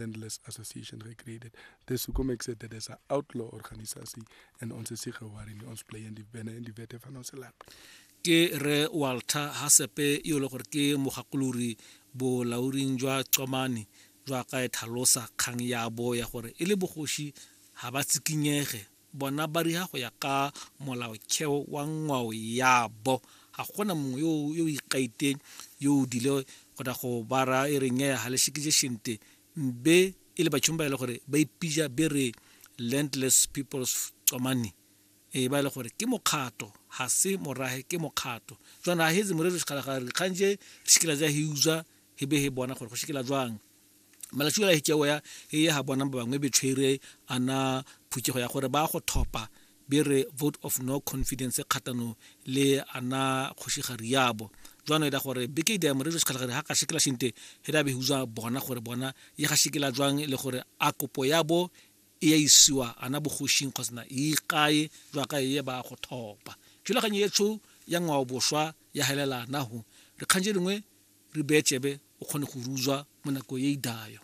Landless Association gecreëerd. Dis hoekom ek sê dit is 'n outlaw organisasie en ons is nie geworry nie. Ons bly in die binne in die wette van ons land. Ke Rre Walter Hasepe yo e le gore ke mogakolori bolaoding jwa Qomane jwa ka e tlhalosa kgang ya bo ya gore e le bogoši ga ba tsikinyege bona ba riha go ya ka molaotheo wa ngwao ya bo. Ga gona mongwe yo yo ikaiteng yo o dile go da go ba ra e re nyeya ga le shikije shente mbe e le batšhong ba e le gore ba ipija be re Landless People's Qomani e ba e le gore ke mokgato ga se morahe ke mokgato. Jwana ga hetse morero sekgala dikgang je re shikela ja he utswa he be he bona gore go shikela jwang. Malatsi ola hikeo ya e ya ha bona ba bangwe be tshwere ana phuthego ya gore ba go thopa be re vote of no confidence kgatano le ana kgošigari yabo. Jwano e da gore beke ida morero sekgala ha ka shikela shinte he da be huzwa bona gore bona ye ga shikela jwang le gore a kopo yabo e ya isiwa ana bogošing kgotsa e ikae jwa ka e ba go thopa. Thulaganyo etsho ya ngwao bošwa ya helela naho re kganje dingwe re bee tsebe o kgone go ruzwa mo nako e idayo.